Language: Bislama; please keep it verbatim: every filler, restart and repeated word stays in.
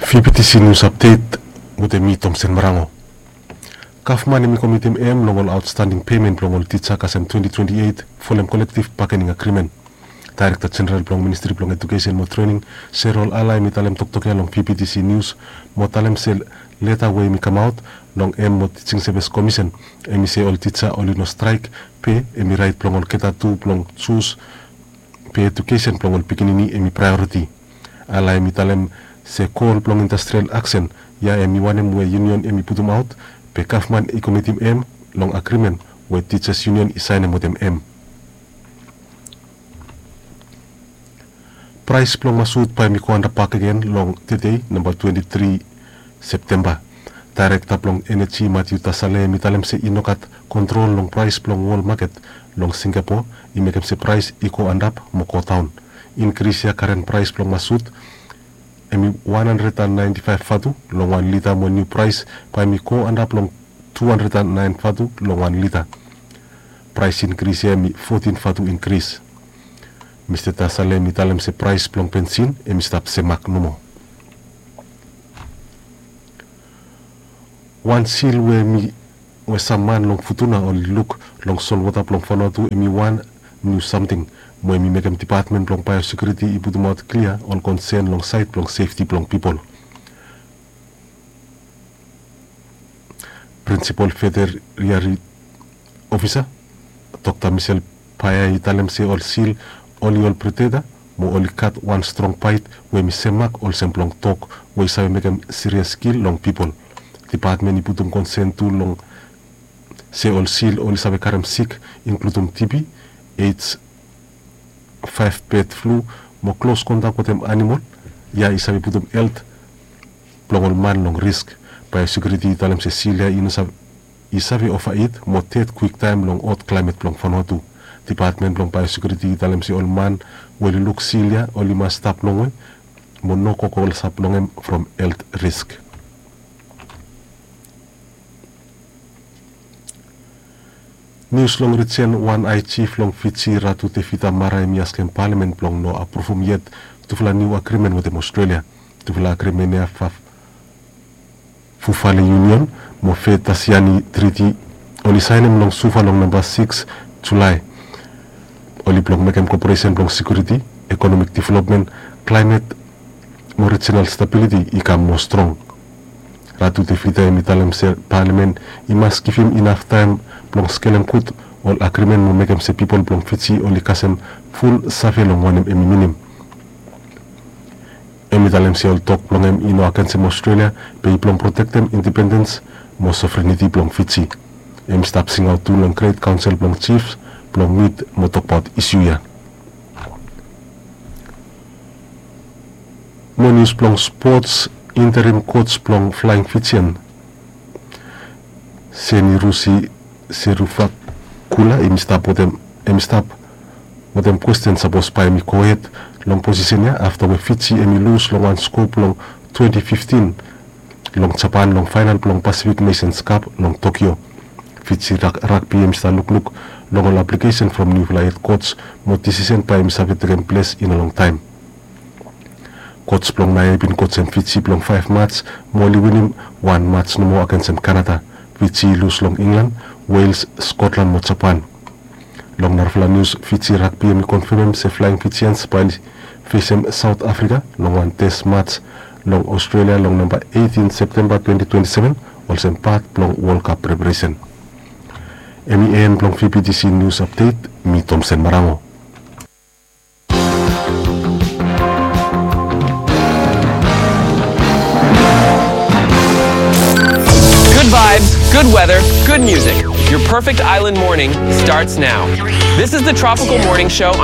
Fifty C News Update wetem mi, Tomsen Marango. Gavman hemi komitim hem long ol aotstanding pemen blong ol tija kasem twenty twenty-eight folem kolektiv bakening agrimen. Daerekta Jeneral blong Ministri blong Ejukesen mo Trening, Serol Ala, hemi talem toktok ya long Fifty C News mo talem se leta we hemi kamaot long hem mo Tijing Sevis Komisen, hemi se ol tija oli no straek, be hemi raet blong olgeta tu blong jus, be ejukesen blong ol pikinini hemi praeoriti. Ala hemi talem se gol blong industrial aksen ya hemi wanem we yunion hemi putumaot, be gavman i komitim hem long agrimen we Teachers Union i saenem wetem hem. Praes blong masut bae hemi go antap bakegen long tede, namba twenty-three Septemba. Daerekta blong Eneji, Matthew Tasale, hemi talem se i no gat kontrol long praes blong wol maket long Singapore i mekem se praes i go antap mo go daon. Inkris ya, karen praes blong masut hemi one hundred and ninety-five vatu long wan lita, mo niu praes bae hemi go antap long two hundred and nine vatu long wan lita. Praes inkris ya hemi fourteen vatu inkris. Mista Tasale hemi talem se praes blong bensin hemi stap semak nomo. Wan sil we hemi, we sam man long Futuna oli luk long solwota blong Vanuatu hemi wan niu samting, mo hemi mekem Dipatmen blong Baeosekiuriti i putumaot klia ol konsen long saed blong sefti blong pipol. Prinsipol Veteriari Ofisa, Dokta Michelle Paya, i talem se ol sil oli ol predeta mo oli gat wan strong baet we hemi semak olsem blong dog we i save mekem sirias kil long pipol. Dipatmen i putum konsen tu long se ol sil oli save karem sik, inkludum TB, AIDS, five bird flu, mo klos kontak wetem anamol ya i save putum helt blong ol man long risk. Baeosekiuriti i talem se sil ya i no save, i save ova it mo ded kwiktaem long hot klaemet blong Vanuatu. Dipatmen blong Baeosekiuriti i talem se ol man we oli luk sil ya oli mas stap longwe mo no go klosap long hem from helt risk. Nius long rijen, wan ae jif long Fiji, Ratu Tevita Mara, hemi askem palamen blong no apruvum yet tufala niu agrimen wetem Australia. Tufala agrimen ya, Fufale Union mo Fetasiani Triti, oli saenem long Suva long namba sikis Julae. Oli blong mekem koperesen blong sekiuriti, ekonomik developmen, klaemet mo rijinal stabiliti i kam moa strong. Ratu Tevita hemi talem se palamen i mas givim inaf taem blong skelem gud ol agrimen mo mekem se pipol blong Fiji oli kasem ful save long wanem hemi minim. Hemi talem se ol tok blong hem i no agensem Australia, be i blong protektem independens mo sovereniti blong Fiji. Hemi stap singaot tu long Great Council blong Chiefs blong mit mo tokbaot isu ya. Mo nius blong spots, interim coach blong Flying Fijian, Senirusi Seruvakula, hemi stap wetem, hemi stap wetem kwesten sapos bae hemi gohed long posisen ya afta we Fiji hemi lus long wan sko blong twenty fifteen long Japan long faenal blong Pacific Nations Cup long Tokyo. Fiji Rug-, Rugby hemi stap lukluk long ol aplikesen from niufala hed coach mo disisen bae hemi save tekem ples in a long taem. Coach blong naoia i bin coachem Fiji blong faef mats mo oli winim wan mats nomo agensem Canada. Fiji i lus long England, Wales, Scotland mo Japan. Long narafala nius, Fiji Rugby hemi konfemem se Flying Fijians bae oli fesem South Africa long wan test mats long Australia long namba eighteen Septemba twenty twenty-seven olsem pat blong World Cup preparesen. Hemi en blong Fifty C News Update, mi Tomsen Marango. Good vibes, good weather, good music. Your perfect island morning starts now. This is the Tropical Morning Show.